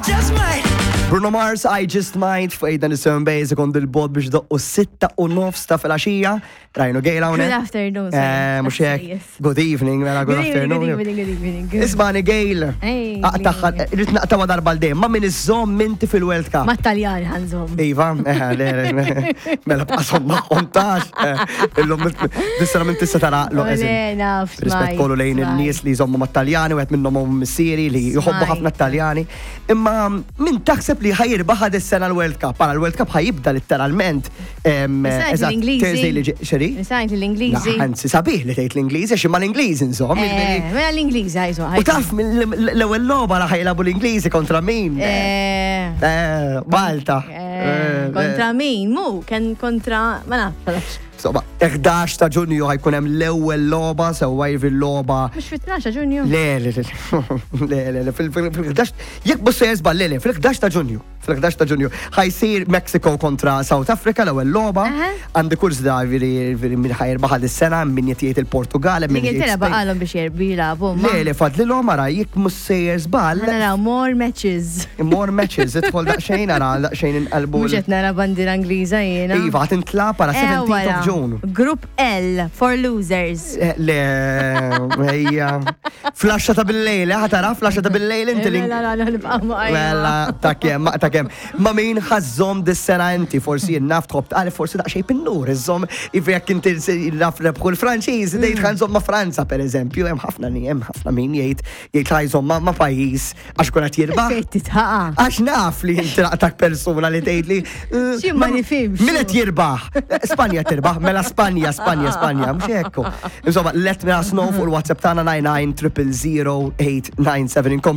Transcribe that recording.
just might. Bruno Mars, I Just Might, fuq Aidan is-7 Base, ikon dil-bot biex doqqu 6:30 ta' filgħaxija. Rajnu Gail hawnhekk. Good afternoon, sir. Mhux hekk. Yes. Good evening, mela good Good evening, afternoon. good evening, good evening. Good. Ismani Gail. Ej, Aqtaħħa, rrid naqtawa darba l-dejjem, ma min iżżomm inti fil-World Cup. Ma Taljan ħanżom. Iva, le, le, mela bqasom magħhom tax. Illum dis-sena minn tista' tara l Le, naf, Rispett smajt, kollu lejn smajt. in-nies li jżommu mat-Taljani, u għed minnhom hum missieri li jħobbu Smajt. ħafna t-Taljani. Imma min taħseb li ħajirbaħ dis-sena l-World Cup? Para l-World Cup ħajibda letteralment. Nisajt Eżatt, l-Ingliżi. Thursday li xeri? Nisajt l-Ingliżi. La, Anzi, sabiħ li tgħid l-Ingliżi, għax imma l-Ingliżi insomma. Mela l-Ingliżi ħajżu. U taf l-ewwel logħba la ħajlabu l-Ingliżi kontra min? Malta. Kontra min? Mu, ken kontra, ma nafx. Insomma, 11 ta' Ġunju ħajkun hemm l-ewwel logħba sewwa jiġifieri l-logħba. Mhux fit-12 Ġunju. Le, le, le, le, le, le, fil-11, jekk mhux se jeżball, le, le, fil-11 ta' Ġunju, fil-11 ta' Ġunju ħajsir Mexico kontra South Africa l-ewwel logħba. Għandi kurs da jiġifieri min ħajrbaħ dis-sena, min qed jgħid il-Portugal, min jgħid L-Ingilterra Spain. baqalhom biex jerbi jilagħbu. Le, le, fadlilhom ara jekk mhux sejjer żball. Naraw more matches. More matches, idħol daqsxejn ara daqsxejn inqalbu. Mhux qed nara bandiera Ingliża jiena. Iva, tintlab ara 17th wara. of June. Group L for losers. Le, ejja. Flasha ta' bil-lejl, ħatara, flasha ta' bil-lejl inti li. Mela, la, nibqa' ma' Mela, ta' kem, ta' kem. Ma min ħazzom dis-sena inti, forsi naf tħobb tqal, forsi daqsxejn pinnur, iżżomm, iva jekk inti naf rebħu l-Franċiż, tgħid ħanżomm ma' Franza, per eżempju, hemm ħafna ni, hemm ħafna min jgħid jgħid ħajżomm ma' pajjiż għax kun qed jirbaħ. Fejn titħaqa. Għax naf li inti laqtak persuna li tgħid li. Xi ma nifhimx. Min qed jirbaħ? Spanja tirbaħ, mela Spanja, Spanja, Spanja, mhux hekk. Insomma, let me us know fuq il-WhatsApp tagħna 99 000 897 inkomplu.